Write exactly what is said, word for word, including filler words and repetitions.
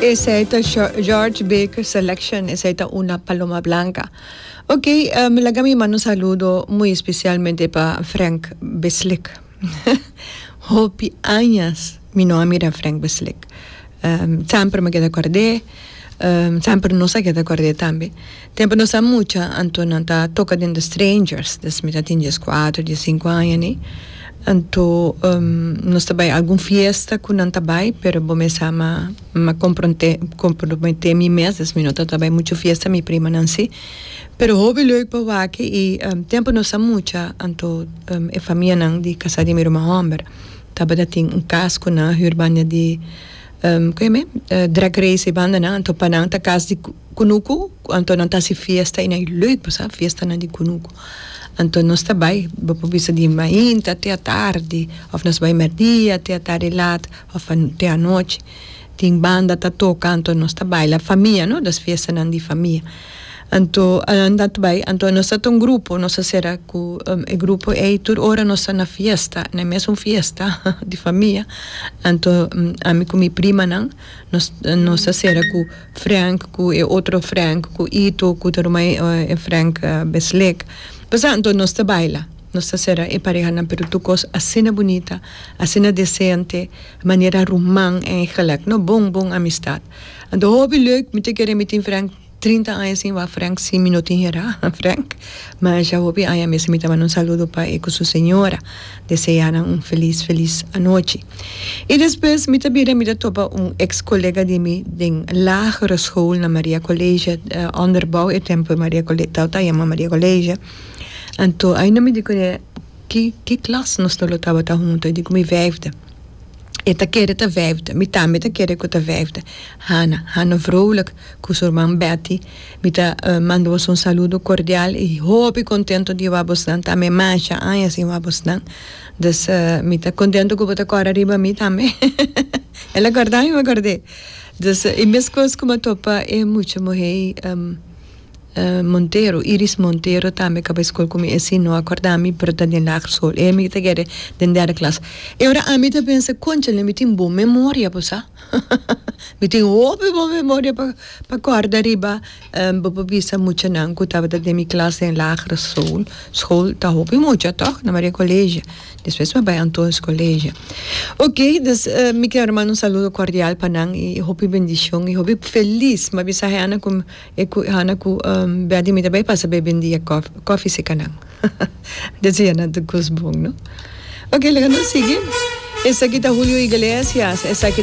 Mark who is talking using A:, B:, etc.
A: Esey ta George Baker Selection, esey ta Una Paloma Blanca. Ok, um, laga mi manda un saludo muy especialmente pa Frank Beslik. Hopi aña mi no a mira Frank Beslik. Um, semper mi a keda cord'e, um, semper nos a keda cord'e tambe. Tempo nos ta mucha, anto nan ta toca den The Strangers, dus mi tabatin diescuater, diescinco aña, ne? Anto um, nos ta bay algun fiesta cu nan ta bay, pero bo mes sa, m'a m'a compromete compromete mi mes, dus mi no ta bay mucho fiesta, mi prima nan si. Pero hopi leuk pa wak y um, tempo nos ta mucha, anto um, e famia nan di casa di mi ruman homber. Tabata tin un cas cu nan a huur banda di um, con e uh, drag race e banda nan, anto pa nan ta cas di kunuku, anto nan ta hasi fiesta y nan leuk, bo sa, fiesta nan di kunuku. Anto nos ta bay, bo por bisa di mainta te atardi, of nos bay merdia te atardi laat, of te anochi. Tin banda ta toca, anto nos ta baila famia, no? Das fiesta nan di famia. Anto nan ta bay, anto nos ta un grupo, nos a cera cu um, e grupo ey tur ora nos ta na fiesta, na mesun fiesta di famia. Anto um, ami cu mi prima nan, nos nos a cera cu Frank, cu e otro Frank, cu Ito, cu e uh, Frank uh, Beslik. Pues anto nos ta baila. Nos ta cera e pareha nan, pero tur cos asina bunita, asina decente, manera ruman eigenlijk, no, bon bon amistad. Anto hopi leuk, mi ta kere mi tin Frank trinta aña sin wak Frank, si mi no tin hera, Frank. Mas ya hopi aña mes. Mi ta manda un saludo pa e cu su señora. Desea nan un feliz, feliz anochi. Y despues mi ta bira mi ta topa un ex-colega di mi den lagere school na Maria College, uh, onderbouw e tempo Maria College, ta yama Maria College. Anto, ainda mi di cu ki ki klas nos tabata hunto, di cu mi vijfde. E ta kere ta vijfde, mi tambe ta kere cu ta vijfde. Hanna, Hanna Vrolijk, cu su ruman Betty. Mi ta uh, manda un saludo cordial y hopi contento di wak bosnan tambe, masha aña sin wak bosnan. Dus uh, mi ta contento cu bo ta corda riba mi tambe. El a corda mi, m'a cord'e. Dus uh, e mescos cu m'a topa e mucha muhe um, uh, Montero, Iris Montero tambe cu a bay scol cu mi, esey no a corda mi, pero ta den lagere school. E mi ta kere den derde klas. E ora ami ta pensa, concha, mi tin bon memoria, bo sa. Mi tin hopi bon memoria pa pa corda riba um, bo por bisa mucha nan cu tabata den mi klas den lagere school. School ta hopi mucha, toch? Na Maria College. Despues m'a bay Antonius College. Ok, dus uh, mi kier manda un saludo cordial pa nan y hopi bendicion y hopi feliz. M'a bisa Hana cu e cu Hana cu um, Betty mi tambe pasa bebe un dia koffie, koffie serca nan. Desea nan tur cos bon, no? Ok, laga nos sigui. Esaki ta Julio Iglesias. Esaki